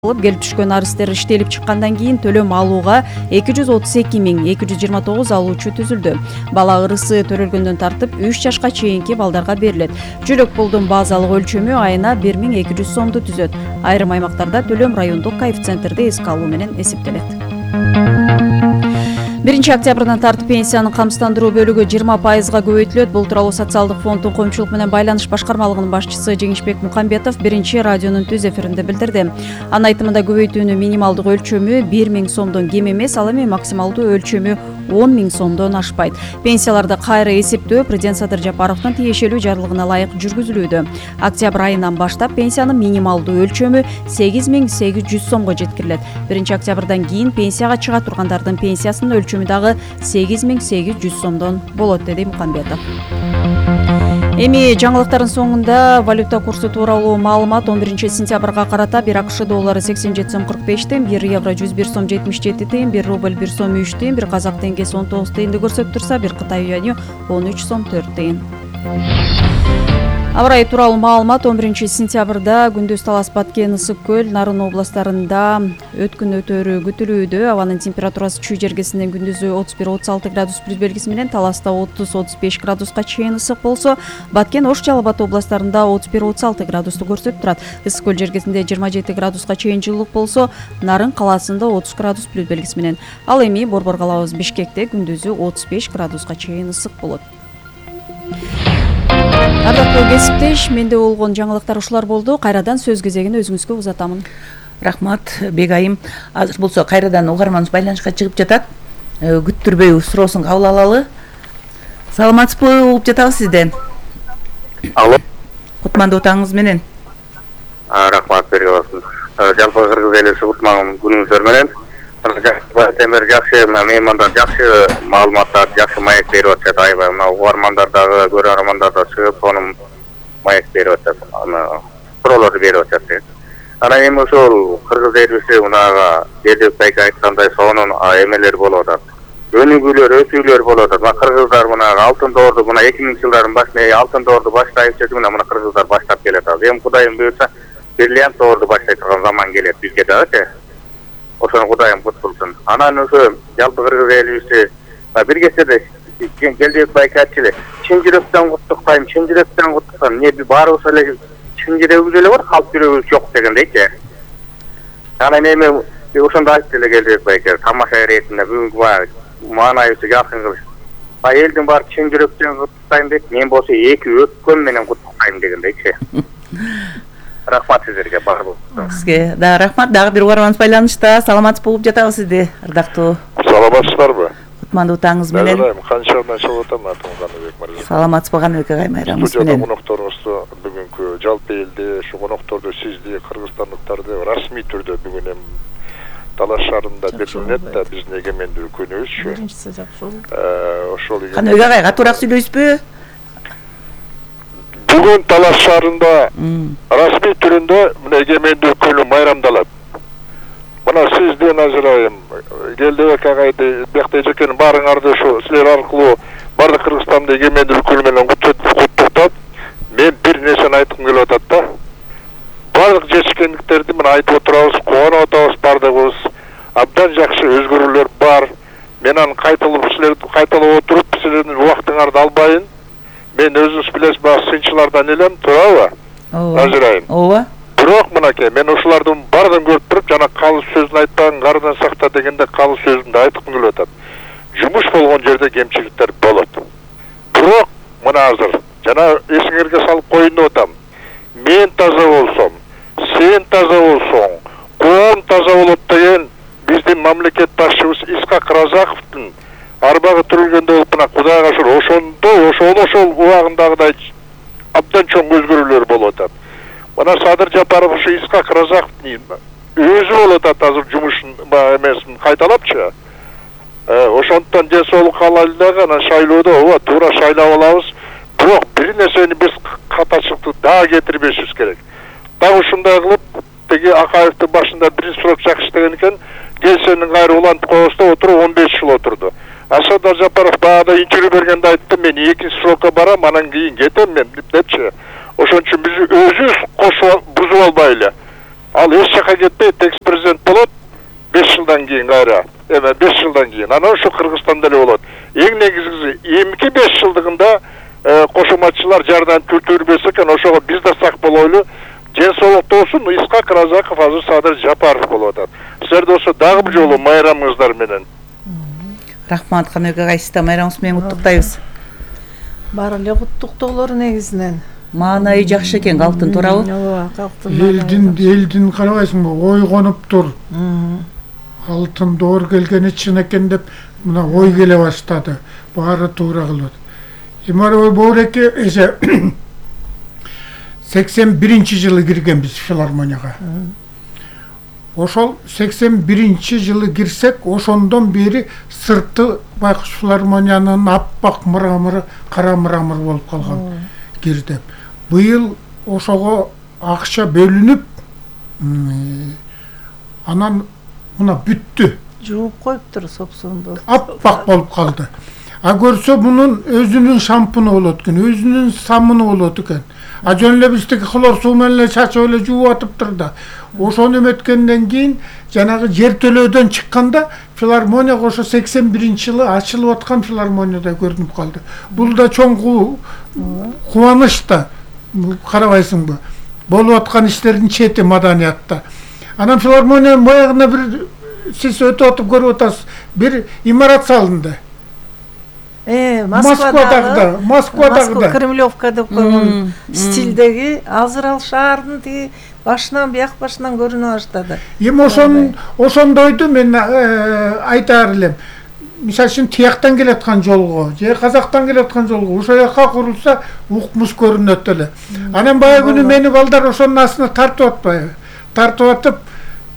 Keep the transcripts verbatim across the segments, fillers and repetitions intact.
келип түшкөн арыздар иштелип чыккандан кийин төлөм алууга эки жүз отуз эки миң эки жүз жыйырма тогуз алуучу түзүлдү. Бала ырысы төрөлгөндөн тартып үч жашка чейинки балдарга берилет. Жүрөк пулдун базалык өлчөмү айына бир миң эки жүз сомду түзөт. Айрым аймактарда төлөм райондук коэффициенттерди эске алуу менен эсептелет. биринчи октябрдан тартып пенсиянын камсыздандыруу бөлүгү жыйырма пайызга көбөйтүлөт. Бул тууралуу социалдык фонддун коомчулук менен байланыш башкармалыгынын башчысы Жеңишбек Мукамбетов биринчи радионун түз эфиринде билдирди. Анын айтымында көбөйтүүнүн минималдык өлчөмү бир миң сомдон кем эмес, ал эми максималдуу өлчөмү он миң сомдон ашпайт. Пенсияларды кайра эсептөө президент Садыр Жапаровдун тиешелүү жарлыгына ылайык жүргүзүлүүдө. Октябрь айынан баштап пенсиянын минималдуу өлчөмү сегиз миң сегиз жүз сомго жеткирилет. биринчи октябрдан кийин пенсияга чыга тургандардын пенсиясынын өлчөмү дагы сегиз миң сегиз жүз сомдон болот, деди Мукамбетов. Эми жаңылыктардын соңунда валюта курсу тууралуу маалымат. он биринчи сентябрга карата бир АКШ доллары сексен жети сом кырк беш тыйын, бир евро жүз бир сом жетимиш жети тыйын, бир рубль бир сом үч тыйын, бир казак теңгеси он тогуз тыйынды көрсөтүп турса, бир Кытай юаню он үч сом төрт тыйын. Аба ырайы тууралуу маалымат. он биринчи сентябрда күндүз Талас, Баткен, Ысык көл, Нарын областарында өткүн өтөрү күтүлүүдө. Абанын температурасы Чүй жергесинен күндүзү отуз бир отуз алты градус плюс белгиси менен, Таласта отуз отуз беш градуска чейин ысык болсо, Баткен, Ош, Жалал Абад областарында отуз бир отуз алты градусту көрсөтүп турат. Ысык көл жергесинде жыйырма жети градуска чейин жылуулук болсо, Нарын калаасында отуз градус плюс белгиси менен. Ал эми Борбор калабыз Бишкекте күндүзү отуз беш градуска чейин ысык болот. Ардактуу кесиптеш, менде болгон жаңылыктар ушулар болду. Кайрадан сөз кезегин өзүңүзгө узатамын. Рахмат, Бегайым. Азыр болсо кайрадан угарманыбыз байланышка чыгып жатат. Күттүрбөй суроосун кабыл алалы. Саламатсызбы, угуп жатабыз сизден. Алло. Кутмандуу таңыңыз менен. Рахмат берип аласыз. Жалпы кыргыз элиси кутман күнүңүздөр менен. Темир жакшы, меймандар жакшы маалыматтар, жакшы маек берип атышат. Аябай мына угармандар дагы, көрөрмандар да чыгып, сонун маек берип атышат. Аны суроолорду берип атышат. Анан эми ошол кыргыз элиси мынага Жердебек байке айткандай сонун эмелер болуп атат. Өнүгүүлөр, өсүүлөр болуп атат. Мына кыргыздар мына алтын доорду мына эки миңинчи жылдардын башында алтын доорду баштайт деп мына мына кыргыздар баштап келатат. Эми Кудайым буйрса, бриллиант доорду баштай турган заман келет бизге дагычы. Ошону Кудайым куткулсун. Анан ошо жалпы кыргыз элибизди бир кездерде Жердебек байке айтчу эле, чын жүрөктөн куттуктайм, чын жүрөктөн куттуктайм. Эмне баарыбыз эле чын жүрөгүбүз эле бар, калп жүрөгүбүз жок дегендейчи. Анан эми ошондо айтты эле Жердебек байке, тамаша иретинде бүгүнкү маанайыбызды жакын кылыш. Ба элдин баары чын жүрөктөн куттуктайм дейт, мен болсо эки өпкөм менен куттуктайм дегендейчи. Рахмат сиздерге, бар болсун. Сизге да рахмат. Дагы бир угарманыбыз байланышта. Саламатсыз болуп жатабыз сизди, ардактуу. Саламатсыздарбы? Кутмандуу таңыңыз менен. Канчадан чыгып атам, атым Каныбек Мырза. Саламатсызбы, Каныбек агай, майрамыңыз менен. Студияда конокторуңузду бүгүнкү жалпы элди, ушу конокторду сизди, кыргызстандыктарды расмий түрдө бүгүн эми Талас шаарында белгиленет да биздин эгемендүү күнүбүзчү. Биринчиси жакшы. Э, ошол Каныбек агай, катуураак сүйлөйсүзбү? Бүгүн Талас шаарында расмий түрүндө мына эгемендүү күнү майрамдалат. Мына сизден ажырайым, Жердебек агайды, биякта эжекенин баарыңарды ошо силер аркылуу бардык Кыргызстанды эгемендүү күнү менен куттуктап, мен бир нерсени айткым келип атат да. Бардык жетишкендиктерди мына айтып отурабыз, кубанып атабыз бардыгыбыз. Абдан жакшы өзгөрүүлөр бар. Мен аны кайталап силерди кайталап отуруп, силердин убактыңарды албайын. Мен өзүңүз билесиз, баягы сынчылардан элем, туурабы? Ооба. Ажырайым. Ооба. Бирок мынакей, мен ошолордун баардыгын көрүп туруп, жана калыс сөзүн айтпаган кардан сакта дегенде калыс сөзүн да айткым келип атат. Жумуш болгон жерде кемчиликтер болот. Бирок мына азыр жана эсиңерге салып коеюн деп атам. Мен таза болсом, сен таза болсоң, коом таза болот деген биздин мамлекет башчыбыз Исхак Разаковдун арбагы түрүлгөндө болуп мына Кудайга ошол ошондо ошол ошол убагындагыдай абдан чоң өзгөрүүлөр болуп атат. Мына Садыр Жапаров ушу Исхак Разаковдун өзү болуп атат азыр жумушун эмесин кайталапчы. Ошондон ден соолук алайлы дагы анан шайлоодо ооба туура шайлап алабыз. Бирок бир нерсени биз катачылыкты дагы кетирбешибиз керек. Дагы ушундай кылып, теги Акаевдин башында биринчи срок жакшы иштеген экен, келсенин кайра улантып коебуз да отуруп он беш жыл отурду. Садыр Жапаров баягы интервью бергенде айтты, мен экинчи срокко барам, анан кийин кетем мен депчи. Ошон үчүн биз өзүбүз кошуп бузуп албайлы. ал эч жака кетпейт, экс президент болот беш жылдан кийин кайра. Эме беш жылдан кийин. Анан ошо Кыргызстанда эле болот. Эң негизгиси эмки беш жылдыгында кошоматчылар жардам күтүрбөс экен, ошого биз да сак болойлу. Ден соолукта болсун, Исхак Разаков азыр Садыр Жапаров болуп атат. Силерде болсо дагы бир жолу майрамыңыздар менен. Рахмат, Каныбек агай, сизди майрамыңыз менен куттуктайбыз. Баары эле куттуктоолор негизинен. Маанайы жакшы экен, калктын туурабы? Ооба, калктын. Элдин элдин карабайсыңбы, ой конуп тур. Алтын доор келгени чын экен деп мына ой келе баштады. Баары туура кылат. Имаров Боореке эже сексен биринчи жылы киргенбиз филармонияга. Ошол сексен биринчи жылы кирсек, ошондон бери сырты байкуш филармониянын аппак мырамыры, кара мырамыр болуп калган кирдим. Быйыл ошого акча бөлүнүп, анан мына бүттү. Жууп коюптур сопсонду. Аппак болуп калды. А көрсө мунун өзүнүн шампуну болот экен, өзүнүн самыны болот экен. А жөн эле биздики хлор суу менен эле чачып эле жууп атыптыр да. Ошону эметкенден кийин жанагы жер төлөөдөн чыкканда филармонияга ошо сексен биринчи жылы ачылып аткан филармонияда көрүнүп калды. Бул да чоң кубаныч да, карабайсыңбы? Болуп аткан иштердин чети маданиятта. Анан филармониянын баягына бир сиз өтүп атып көрүп атасыз, бир имарат салынды. Э, Москвадагы, Москвадагы да. Кремлевка деп койгон стилдеги азыр ал шаардын тиги башынан бияк башынан көрүнө баштады. Эми ошон ошондойду мен айтаар элем. Мисалы үчүн тияктан келаткан жолго, же Казактан келаткан жолго ошо жака курулса укмуш көрүнөт эле. Анан баягы күнү мени балдар ошонун астына тартып атпайбы? Тартып атып,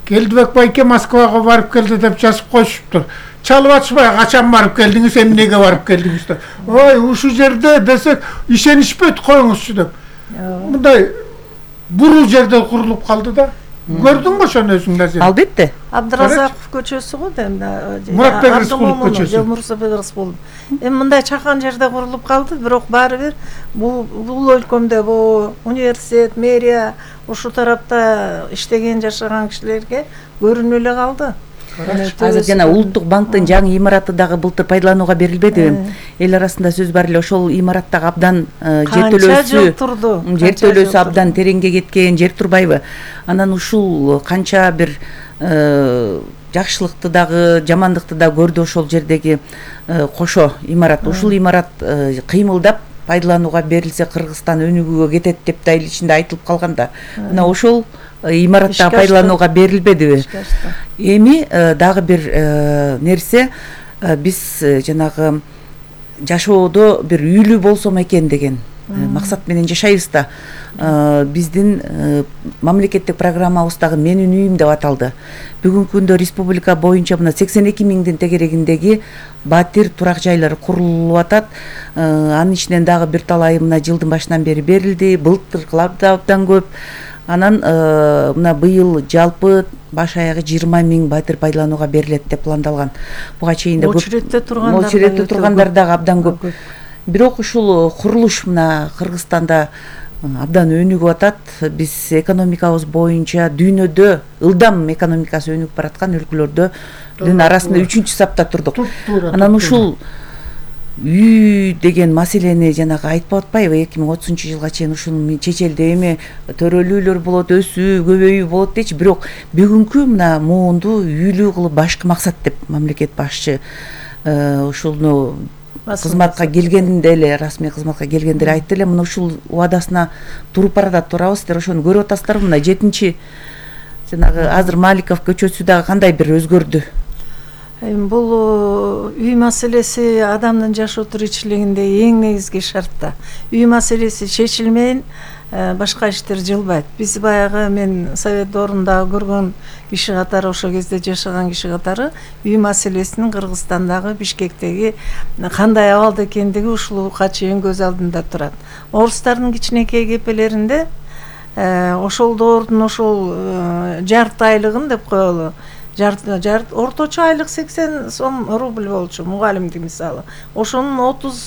Келдибек байке Москвага барып келди деп жазып коюшуптур. Чалып атышпай, качан барып келдиңиз, эмнеге барып келдиңиз деп. Ой, ушул жерде десек ишенишпейт, коюңузчу деп. Мындай буруу жерде курулуп калды да. Көрдүңбү ошону өзүң назир? Албетте. Абдыразаков көчөсү го дейм да. Муратбек Рыскулов көчөсү. Муратбек Рыскулов. Эми мындай чакан жерде курулуп калды, бирок баары бир бул бул өлкөмдө бу университет, мэрия ушу тарапта иштеген жашаган кишилерге көрүнүп эле калды. Азыр жана Улуттук банктын жаңы имараты дагы былтыр пайдаланууга берилбедиби? Эл арасында сөз бар эле, ошол имараттагы абдан жер төлөөсү, жер төлөөсү абдан тереңге кеткен, жер турбайбы? Анан ушул канча бир жакшылыкты дагы, жамандыкты да көрдү ошол жердеги кошо имарат. Ушул имарат кыймылдап пайдаланууга берилсе Кыргызстан өнүгүүгө кетет деп да эл ичинде айтылып калганда, мына ошол имаратта пайдаланууга берилбедиби? Эми дагы бир нерсе, биз жанагы жашоодо бир үйлүү болсом экен деген максат менен жашайбыз да. Биздин мамлекеттик программабыздагы менин үйүм деп аталды. Бүгүнкү күндө республика боюнча мына сексен эки миңдин тегерегиндеги батир турак жайлары курулуп атат. Анын ичинен дагы бир талайы мына жылдын башынан бери берилди. Былтыркылар да абдан көп. Анан мына быйыл жалпы баш аягы жыйырма миң батир пайдаланууга берилет деп пландалган. Буга чейин да очередте тургандар, очередте тургандар дагы абдан көп. Бирок ушул курулуш мына Кыргызстанда абдан өнүгүп атат. Биз экономикабыз боюнча дүйнөдө ылдам экономикасы өнүгүп бараткан өлкөлөрдөн арасында үчүнчү сапта турдук. Анан ушул үй деген маселени жанагы айтпай атпайбы, эки миң отузунчу жылга чейин ушуну чечелди, эми төрөлүүлөр болот, өсүү, көбөйүү болот дечи. Бирок бүгүнкү мына моонду үйлүү кылып башкы максат деп мамлекет башчы ушуну кызматка келгенде эле, расмий кызматка келгенде эле айтты эле, мына ушул убадасына туруп баратат, турабы сиздер ошону көрүп атасыздарбы? Мына жетинчи жанагы азыр Маликов көчөсү дагы кандай бир өзгөрдү? Бул үй маселеси адамдын жашоо тиричилигинде эң негизги шарт да. Үй маселеси чечилмейин башка иштер жылбайт. Биз баягы мен совет доорунда көргөн киши катары, ошол кезде жашаган киши катары үй маселесинин Кыргызстандагы Бишкектеги кандай абалда экендиги ушулга чейин көз алдында турат. Орустардын кичинекей кепелеринде ошол доордун ошол жарты айлыгын деп коелу, жарт орточо айлык сексен сом рубль болчу мугалимдин мисалы. Ошонун отуз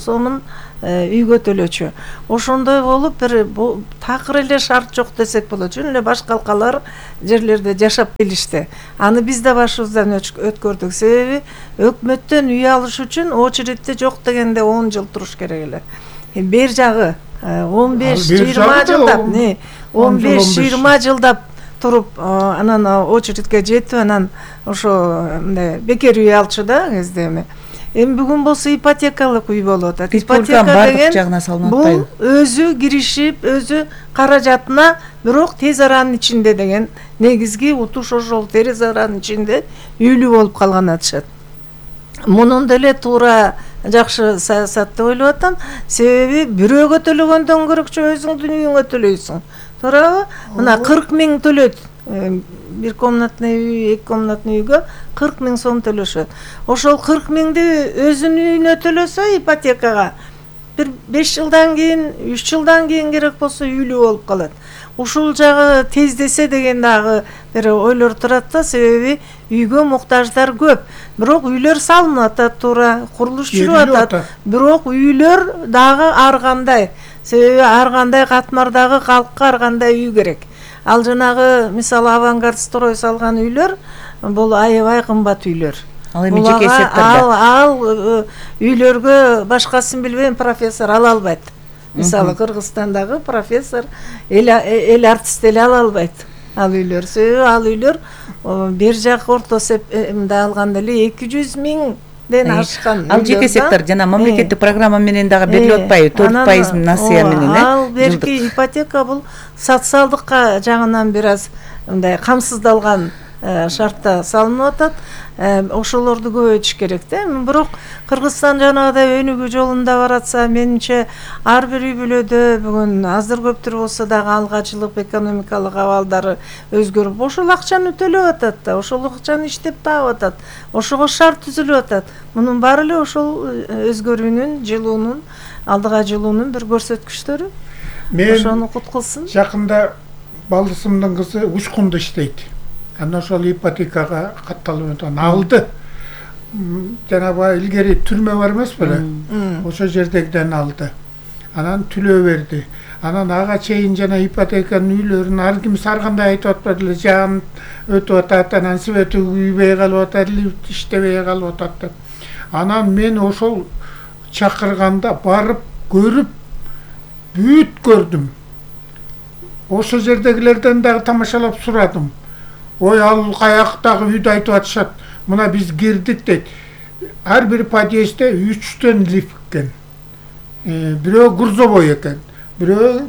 сомун үйгө төлөчү. Ошондой болуп бир такыр эле шарт жок десек болот. Жөн эле башка алкалар жерлерде жашап келишти. Аны биз да башыбыздан өткөрдүк. Себеби өкмөттөн үй алыш үчүн очередте жок дегенде он жыл туруш керек эле. Бер жагы он беш жыйырма жылдап, не он беш жыйырма жылдап туруп, анан очередке жетип, анан ошо мындай бекер үй алчу да кезде эми. Эми бүгүн болсо ипотекалык үй болуп атат. Ипотека бардык жагына салынып атпайбы? Бул өзү киришип, өзү каражатына, бирок тез аранын ичинде деген негизги утуш ошол тез аранын ичинде үйлүү болуп калган атышат. Мунун деле туура жакшы саясат деп ойлоп атам. Себеби бирөөгө төлөгөндөн көрөкчө өзүңдүн үйүңө төлөйсүң. Туурабы? Мына кырк миң төлөйт. Бир комнатный үй, эки комнатный үйгө кырк миң сом төлөшөт. Ошол кырк миңди өзүнүн үйүнө төлөсө ипотекага бир беш жылдан кийин, үч жылдан кийин керек болсо үйлүү болуп калат. Ушул жагы тездесе деген дагы бир ойлор турат да, себеби үйгө муктаждар көп. Бирок үйлөр салынып атат, туура курулуш жүрүп атат. Бирок үйлөр дагы ар кандай. Себеби ар кандай катмардагы калкка ар кандай үй керек. Ал жанагы мисалы авангард строй салган үйлөр бул аябай кымбат үйлөр. Ал эми жеке секторда. Ал ал үйлөргө башкасын билбейм, профессор ала албайт. Мисалы Кыргызстандагы профессор эл эл артист эле ала албайт ал үйлөр. Себеби ал үйлөр бер жак орто мындай алганда эле эки жүз миңден ашкан. Ал жеке сектор жана мамлекеттик программа менен дагы берилип атпайбы? төрт пайыз насыя менен, э? Ал берки ипотека бул социалдыкка жагынан бир аз мындай камсыздалган шартта салынып атат. Ошолорду көбөйтүш керек да. Бирок Кыргызстан жанагыдай өнүгүү жолунда баратса, менимче ар бир үй бүлөдө бүгүн азыр көптүр болсо дагы алгачылык экономикалык абалдары өзгөрүп, ошол акчаны төлөп атат да, ошол акчаны иштеп таап атат. Ошого шарт түзүлүп атат. Мунун баары эле ошол өзгөрүүнүн, жылуунун, алдыга жылуунун бир көрсөткүчтөрү. Ошону куткулсун. Жакында балдысымдын кызы Учкунда иштейт. Анан ошол ипотекага катталып өтөн алды. Жанагы илгери түрмө бар эмес беле? Ошол жердегиден алды. Анан төлөө берди. Анан ага чейин жана ипотеканын үйлөрүн ар ким ар кандай айтып атпады эле, жан өтүп атат, анан свети күйбөй калып атат, лифт иштебей калып атат деп. Анан мен ошол чакырганда барып көрүп бүт көрдүм. Ошол жердегилерден дагы тамашалап сурадым. Ой, ал каяктагы үйдү айтып атышат. Мына биз кирдик дейт. Ар бир подъездде үчтөн лифт экен. Бирөө грузовой экен. Бирөө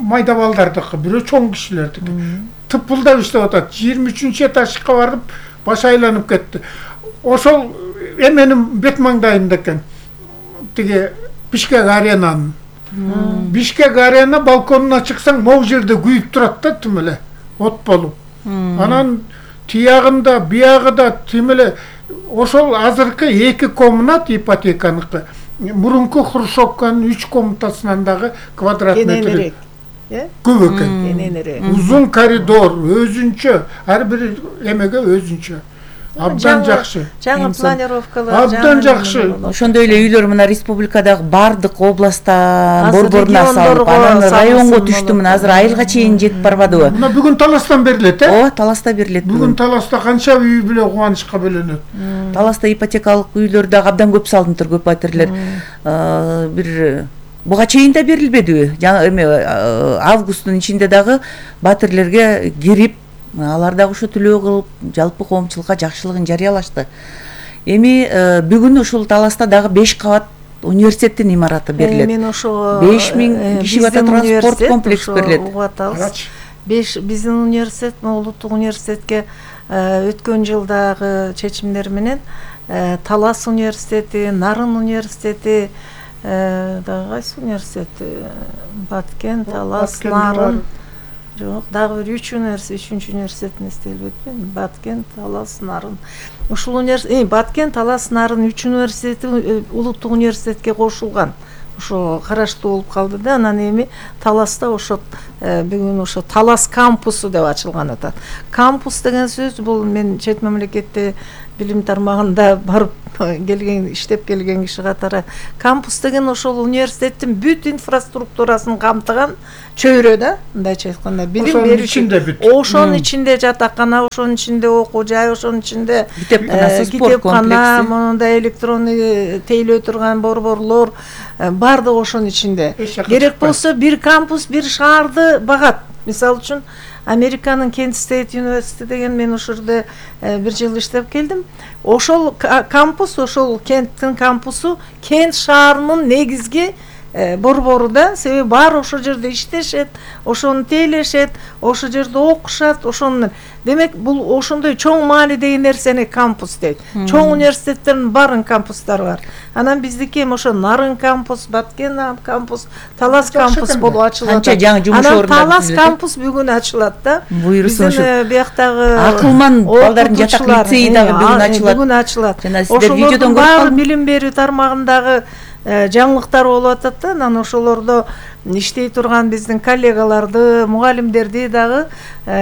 майда балдардыкы, бирөө чоң кишилердики. Тыпылдап иштеп атат. жыйырма үчүнчү этажга барып баш айланып кетти. Ошол эменин бет маңдайында экен. Тиги Бишкек аренанын. Бишкек арена балконуна чыксаң, могу жерде күйүп турат да, тим эле от болуп. Анан тиягында, биягыда тим эле ошол азыркы эки комнат ипотеканыкы. Мурунку Хрущевканын үч комнатасынан дагы квадрат метр көп экен. Узун коридор, өзүнчө, ар бир эмеге өзүнчө. Абдан жакшы. Жаңы планировкалар. Абдан жакшы. Ошондой эле үйлөр мына республикадагы бардык областтан борборуна салып, анан районго түштү. Мына азыр айылга чейин жетип барбадыбы? Мына бүгүн Таластан берилет, э? Ооба, Таласта берилет. Бүгүн Таласта канча үй бүлө кубанычка бөлөнөт. Таласта ипотекалык үйлөр дагы абдан көп салынып, көп батирлер. Бир буга чейин да берилбедиби? Жаңы эме августтун ичинде дагы батирлерге кирип, алар дагы ошо төлөө кылып, жалпы коомчулукка жакшылыгын жарыялашты. Эми бүгүн ушул Таласта дагы беш кабат университеттин имараты берилет. Мен ошо беш миң киши бата спорт комплекс берилет. беш биздин университет, улуттук университетке өткөн жылдагы чечимдер менен Талас университети, Нарын университети, дагы кайсы университет? Баткен, Талас, Нарын. Жок, дагы бир үч университет, үчүнчү университетин эстелбетпен. Баткен, Талас, Нарын. Ушул университет, Баткен, Талас, Нарын үч университети улуттук университетке кошулган. ошо караштуу болуп калды да. Анан эми Таласта ошо бүгүн ошо Талас кампусу деп ачылган атат. Кампус деген сөз бул мен чет мамлекетте билим тармагында барып келген, иштеп келген киши катары, кампус деген ошол университеттин бүт инфраструктурасын камтыган чөйрө да, мындайча айтканда билим берүүчү. Ошонун ичинде жатакана, ошонун ичинде окуу жай, ошонун ичинде китепкана, мондай электронный тейлөө турган борборлор, баардыгы ошонун ичинде. Керек болсо бир кампус бир шаарды багат. Мисалы үчүн Американын Кент Стейт университети деген, мен ошол жерде бир жыл иштеп келдим. Ошол кампус, ошол Кенттин кампусу Кент шаарынын негизги борбору да, себеби баары ошол жерде иштешет, ошону тейлешет, ошол жерде окушат, ошону. Демек, бул ошондой чоң маанидеги нерсени кампус дейт. Чоң университеттердин баарын кампустары бар. Анан биздики эми ошо Нарын кампус, Баткен кампус, Талас кампус болуп ачылат. Анан Талас кампус бүгүн ачылат да. Биздин бияктагы акылман балдардын жатак лицейи дагы бүгүн ачылат. Бүгүн ачылат. Ошолордун баары билим берүү тармагындагы жаңылыктар болуп атат да. Анан ошолордо иштей турган биздин коллегаларды, мугалимдерди дагы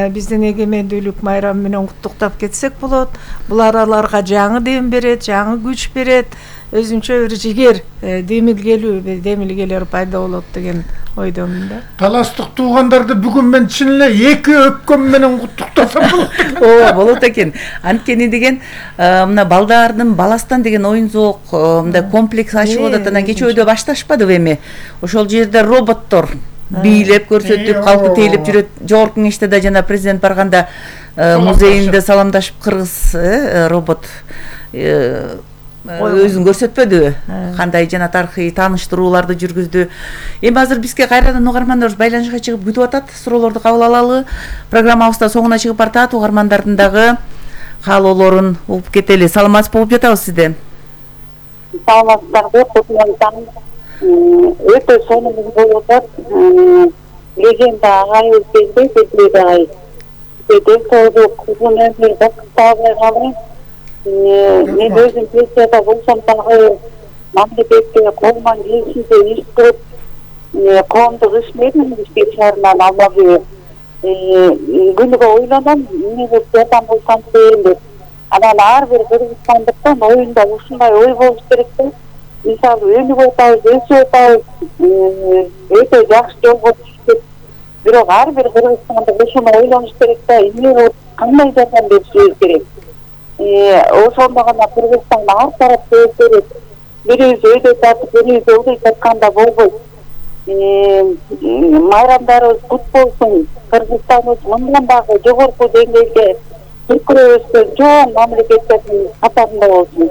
биздин эгемендүүлүк майрамы менен куттуктап кетсек болот. Булар аларга жаңы дем берет, жаңы күч берет, өзүнчө бир жигер, демилгелүү, демилгелер пайда болот деген ойдомун да. Таластык туугандарды бүгүн мен чын эле эки өпкөм менен куттуктасам болот. Ооба, болот экен. Анткени деген мына балдардын баластан деген оюн зоок, мындай комплекс ачылып атат. Анан кечөөдө башташпадыбы эми? Ошол жерде роботтор бийлеп көрсөтүп, калкы тейлеп жүрөт. Жогорку кеңеште да жана президент барганда музейинде саламдашып кыргыз робот өзүн көрсөтпөдүбү? Кандай жана тарыхый тааныштырууларды жүргүздү. Эми азыр бизге кайрадан угармандарыбыз байланышка чыгып күтүп атат. Суроолорду кабыл алалы. Программабызда соңуна чыгып бартат. Угармандардын дагы каалоолорун угуп кетели. Саламатсыз болуп жатабыз сизде. Саламатсыздарбы, кутман. Өтө сонун болуп атат. Легенда агайыбыз келди, Бетлек агай. Бетлек тоодук, узун өмүр бактабай калды. Мен өзүм пенсияда болсом дагы мамлекетке колуман келишинче иш кылып, коомдук ишмермин, иштеп шаарынан алмабы. Күнүгө ойлоном, эмне жардам болсам дейм деп. Анан ар бир кыргызстандыктын оюнда ушундай ой болуш керек да. Мисалы, өнүгүп атабыз, өсүп атабыз, өтө жакшы жолго түштүк. Бирок ар бир кыргызстандык ошону ойлонуш керек да, эмне болуп, кандай жардам беришибиз керек. Ошондо гана Кыргызстан ар тарапта өзгөрөт. Бирибиз өйдө тартып, бирибиз ылдый тартканда болбойт. Майрамдарыбыз кут болсун. Кыргызстаныбыз мындан дагы жогорку деңгээлде түркүрөп өскөн чоң мамлекеттердин катарында болсун.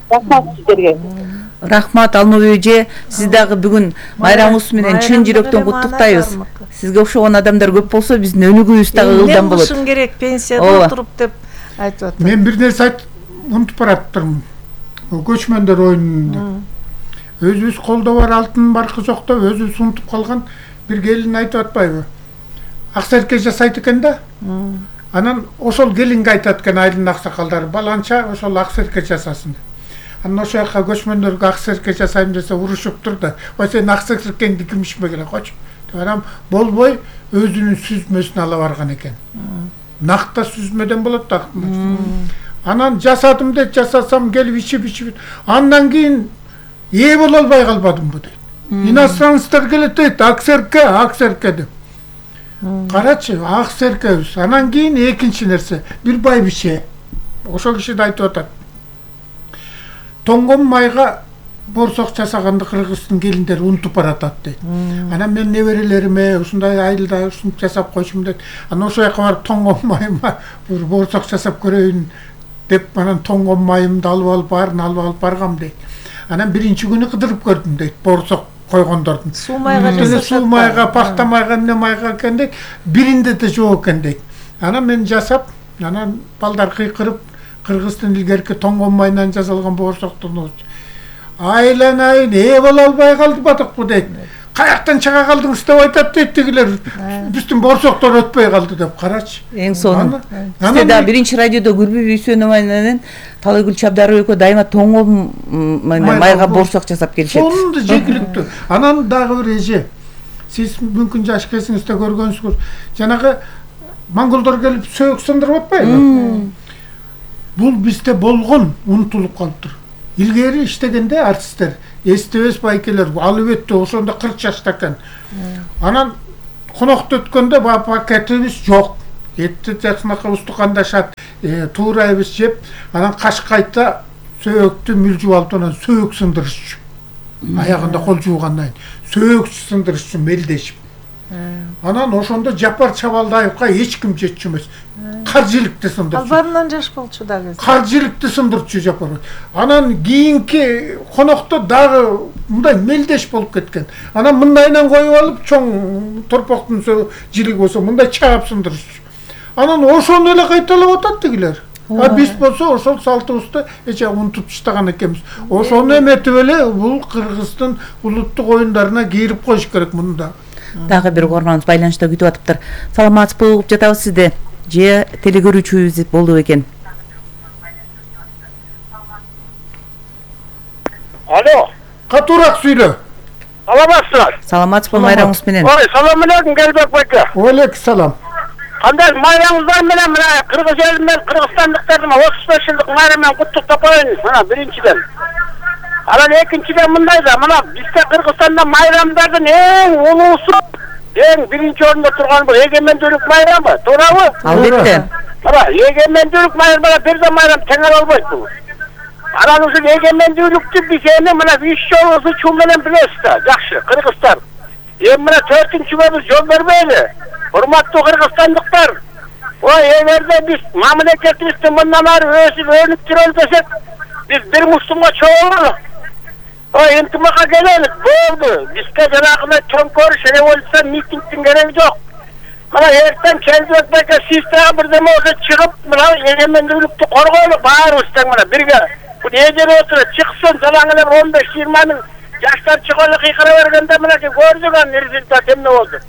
Рахмат сиздерге. Рахмат Алмабек эже, сиз дагы бүгүн майрамыңыз менен чын жүрөктөн куттуктайбыз. Сизге окшогон адамдар көп болсо биздин өнүгүүбүз дагы ылдам болот. Эмне кылышым керек пенсияда отуруп деп айтып атат. Мен бир нерсе айтып унутуп бараттырмын. Көчмөндөр оюнунда. Өзүбүз колдо бар алтын баркы жок деп өзүбүз унутуп калган бир келин айтып атпайбы? Аксерке жасайт экен да. Анан ошол келинге айтат экен айылдын аксакалдары, баланча ошол аксерке жасасын. Анан ошол жака көчмөндөргө аксерке жасайм десе урушуп турду. Ой, сен аксеркеңди ким ишмеген койчу. Анан болбой өзүнүн сүзмөсүн ала барган экен. Накта сүзмөдөн болот да. Анан жасадым деп жасасам келип ичип ичип. Андан кийин ээ боло албай калбадымбы дейт. Иностранецтер келет дейт, аксерке, аксерке деп. Карачы, аксеркебиз. Анан кийин экинчи нерсе, бир байбише. Ошол киши да айтып атат. Тоңгон майга борсок жасаганды кыргыздын келиндери унутуп баратат дейт. Анан мен неберелериме ушундай айылда ушинтип жасап койчумун дейт. Анан ошол жака барып тоңгон майыма бир борсок жасап көрөйүн деп, анан тоңгон майымды алып алып баарын алып алып баргам дейт. Анан биринчи күнү кыдырып көрдүм дейт, борсок койгондордун. Суу майга жасашат. Суу майга, пахта майга, эмне майга экен дейт. Биринде да жок экен дейт. Анан мен жасап, анан балдар кыйкырып, кыргыздын илгерки тоңгон майынан жасалган борсоктун айланайын ээ боло албай калдыбадыкпы дейт. каяктан чыга калдыңыз деп айтат дейт тигилер. Биздин борсоктор өтпөй калды деп карачы. Эң сонун. Бизде да биринчи радиодо Гүлбү Бүйсөнова менен Талайгүл Чабдарова экөө дайыма тоңол майга борсок жасап келишет. Сонунду жегиликтүү. Анан дагы бир эже. Сиз мүмкүн жаш кезиңизде көргөнсүңүз. Жанагы монголдор келип сөөк сындырып атпайбы? Бул бизде болгон, унутулуп калыптыр. Илгери иштегенде артисттер, эстебес байкелер албетте ошондо кырк жашта экен. Анан конокто өткөндө пакетибиз жок. Этти жаксынакы устукандашат, туурайбыз жеп, анан кашкайта сөөктү мүлжүп алып анан сөөк сындырышчу. Аягында кол жуугандан кийин сөөк сындырышчу мелдешип. Анан ошондо Жапар Чабалдаевга эч ким жетчү эмес. Каржиликти сындырчу. Албарынан жаш болчу дагы. Каржиликти сындырчу Жапар. Анан кийинки конокто дагы мындай мелдеш болуп кеткен. Анан мындайынан коюп алып чоң торпоктун жилиги болсо мындай чаап сындырчу. Анан ошону эле кайталап атат тигилер. А биз болсо ошол салтыбызды эче унутуп таштаган экенбиз. Ошону эметип эле бул Кыргыздын улуттук оюндарына кирип коюш керек мында. Дагы бир угарманыбыз байланышта күтүп атыптыр. Саламатсызбы, угуп жатабыз сизди. Же телегөрүүчүбүз болду экен. Алло. Катуураак сүйлө. Саламатсызбы? Саламатсызбы, майрамыңыз менен. Ой, салам алейкум, Келбек байка. Алейкум салам. Кандай майрамыңыздар менен мына Кыргыз эл менен Кыргызстандыктардын отуз беш жылдык майрамын куттуктап коеюн. Мына биринчиден. Анан экинчиден мындай да, мына бизде Кыргызстанда майрамдардын эң улуусу, эң биринчи орунда турган бул эгемендүүлүк майрамы, туурабы? Албетте. Мына эгемендүүлүк майрамы бир да майрам тең албайт бул. Анан ушул эгемендүүлүктү биз эми мына үч жолу ызычуу менен билебиз да, жакшы, кыргыздар. Эми мына төртүнчүгө биз жол бербейли. Урматтуу кыргызстандыктар, ой, эгерде биз мамлекетибизди мындан ары өсүп өнүктүрөлү десек, биз бир мустумга чогулалы. Ой, интимакка келелик, болду. Бизге жанагындай чоңкөрүш, революция, митингдин кереги жок. Мына эртең Келбек байка сиз дагы бирдеме болсо чыгып, мына эгемендүүлүктү коргойлу баарыбыз тең мына бирге. Бул эжере отуруп чыксын, жалаң эле он беш жыйырма миң жаштар чыгып кыйкыра бергенде мына көрдүк аны результат эмне болду.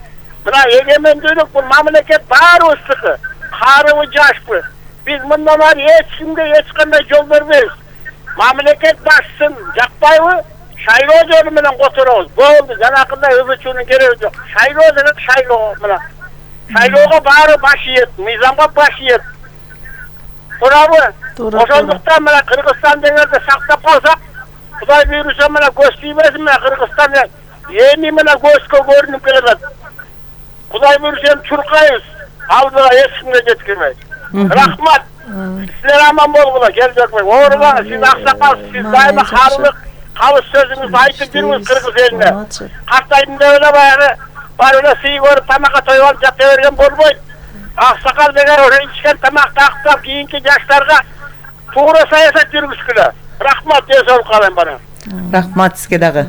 Мына эгемендүүлүк бул мамлекет баарыбыздыкы. Карыбы жашпы. Биз мындан ары эч кимге эч кандай жол бербейбиз. Мамлекет башчысын жакпайбы? Шайлоо жолу менен которобуз. Болду, жанакындай ызычуунун кереги жок. Шайлоо деген шайлоо мына. Шайлоого баары баш ийет, мыйзамга баш ийет. Туурабы? Ошондуктан мына Кыргызстан дегенде сактап калсак, Кудай буйруса мына көз тийбесин, мына Кыргызстан эми мына көзгө көрүнүп келет. Кудай буйруса чуркайбыз. Алдыга эч кимге жеткирбейт. Рахмат. Силер аман болгула, Келбек бай. Оорубаңыз, сиз аксакалсыз, сиз дайыма калык, калыс сөзүңүздү айтып жүрүңүз Кыргыз элине. Картайдым деп эле баягы бар эле сый көрүп тамакка тоюп алып жата берген болбойт. Аксакал деген ошо ичкен тамакты актап кийинки жаштарга туура саясат жүргүзгүлө. Рахмат, дей салып калайын бара. Рахмат сизге дагы.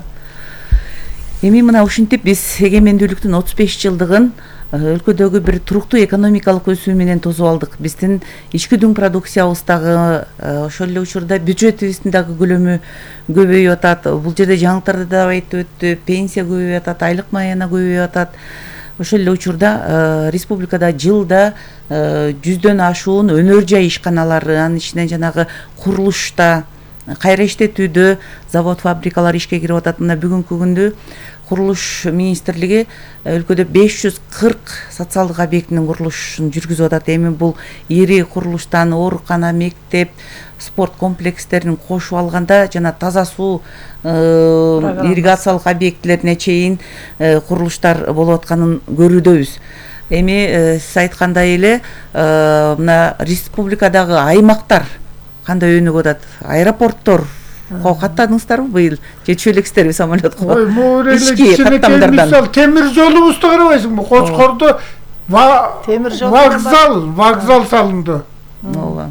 Эми мына ушинтип биз эгемендүүлүктүн отуз беш жылдыгын өлкөдөгү бир туруктуу экономикалык өсүү менен тосуп алдык. Биздин ички дүң продукциябыз дагы ошол эле учурда бюджетибиздин дагы көлөмү көбөйүп атат. Бул жерде жаңылыктарды да айтып өттү. Пенсия көбөйүп атат, айлык маена көбөйүп атат. Ошол эле учурда республикада жылда жүздөн ашуун өнөр жай ишканалары, анын ичинен жанагы курулушта, кайра иштетүүдө завод, фабрикалар ишке кирип атат. Мына бүгүнкү күндө курулуш министрлиги өлкөдө беш жүз кырк социалдык объектинин курулушун жүргүзүп атат. Эми бул ири курулуштан оорукана, мектеп, спорт комплекстерин кошуп алганда жана таза суу ирригациялык объектилерине чейин курулуштар болуп атканын көрүүдөбүз. Эми сиз айткандай эле мына республикадагы аймактар кандай өнүгүп атат? Аэропорттор каттадыңыздарбы быйыл? Жетишип элексиздерби самолетко? Ой, могу эле мисал темир жолубузду карабайсыңбы? Кочкордо вокзал, вокзал салынды. Ооба.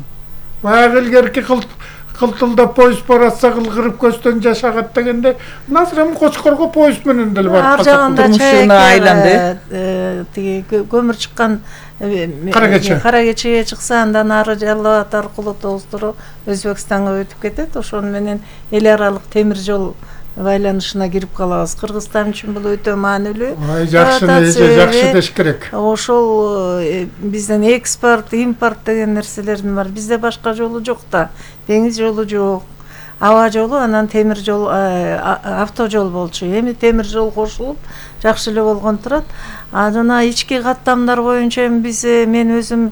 Баягы илгерки кылтылдап поезд баратса кылгырып көздөн жашагат дегенде, назырам Кочкорго поезд менен деле барып калса. Ар жагында чайга айланды. Тиги көмүр чыккан Карагече. Карагечеге чыкса, андан ары Жалал Абад аркылуу тоздуру Өзбекстанга өтүп кетет. Ошону менен эл аралык темир жол байланышына кирип калабыз. Кыргызстан үчүн бул өтө маанилүү. Ай жакшы, эже жакшы деш керек. Ошол бизден экспорт, импорт деген нерселердин бар. Бизде башка жолу жок да. Деңиз жолу жок. Аба жолу, анан темир жол, автожол болчу. Эми темир жол кошулуп жакшы эле болгон турат. А жана ички каттамдар боюнча биз мен өзүм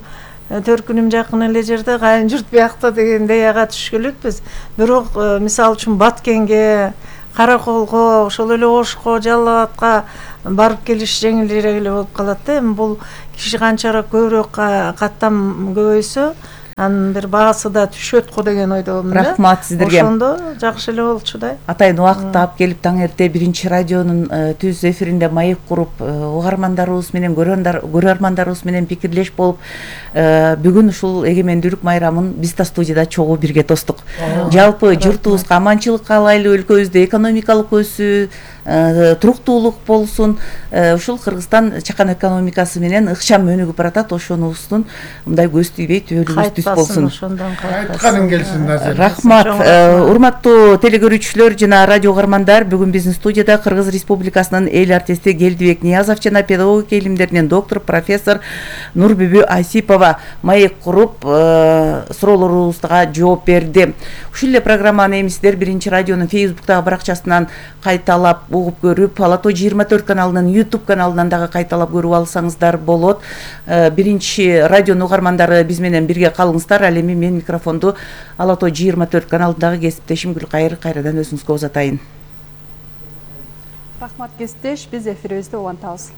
төркүнүм жакын эле жерде, кайын журт биякта дегендей ага түшкүлүкпүз. Бирок мисалы үчүн Баткенге, Караколго, ошол эле Ошко, Жалал Абадка барып келиш жеңилирээк эле болуп калат да. Эми бул киши канчараак көбүрөөк каттам көбөйсө, анын бир баасы да түшөт го деген ойдомун да. Рахмат сиздерге. Ошондо жакшы эле болчу да. Атайын убакытты алып келип таң эрте биринчи радионун түз эфиринде маек куруп, угармандарыбыз менен көрөрмандарыбыз менен пикирлеш болуп, бүгүн ушул эгемендүүлүк майрамын биз да студияда чогуу бирге тостук. Жалпы журтубузга аманчылык каалайлы, өлкөбүздө экономикалык өсүү, туруктуулук болсун. Ушул Кыргызстан чакан экономикасы менен ыкчам өнүгүп баратат. Ошонубуздун мындай көз тийбей түбөлүбүз түз болсун. Айтканың келсин Назир. Рахмат. Урматтуу телекөрүүчүлөр жана радио угармандар, бүгүн биздин студияда Кыргыз Республикасынын эл артисти Келдибек Ниязов жана педагогика илимдеринин доктор профессор Нурбүбү Айсипова маек куруп, суроолорубузга жооп берди. Ушул эле программаны эми сиздер биринчи радионун Facebook'тагы баракчасынан кайталап угуп көрүп, Ала Тоо жыйырма төрт каналынын YouTube каналынан дагы кайталап көрүп алсаңыздар болот. Биринчи радионун угармандары биз менен бирге калыңыздар. Ал эми мен микрофонду Ала Тоо жыйырма төрт каналындагы кесиптешим Гүлкайыр кайрадан өзүңүзгө узатайын. Рахмат кесиптеш, биз эфирибизди улантабыз.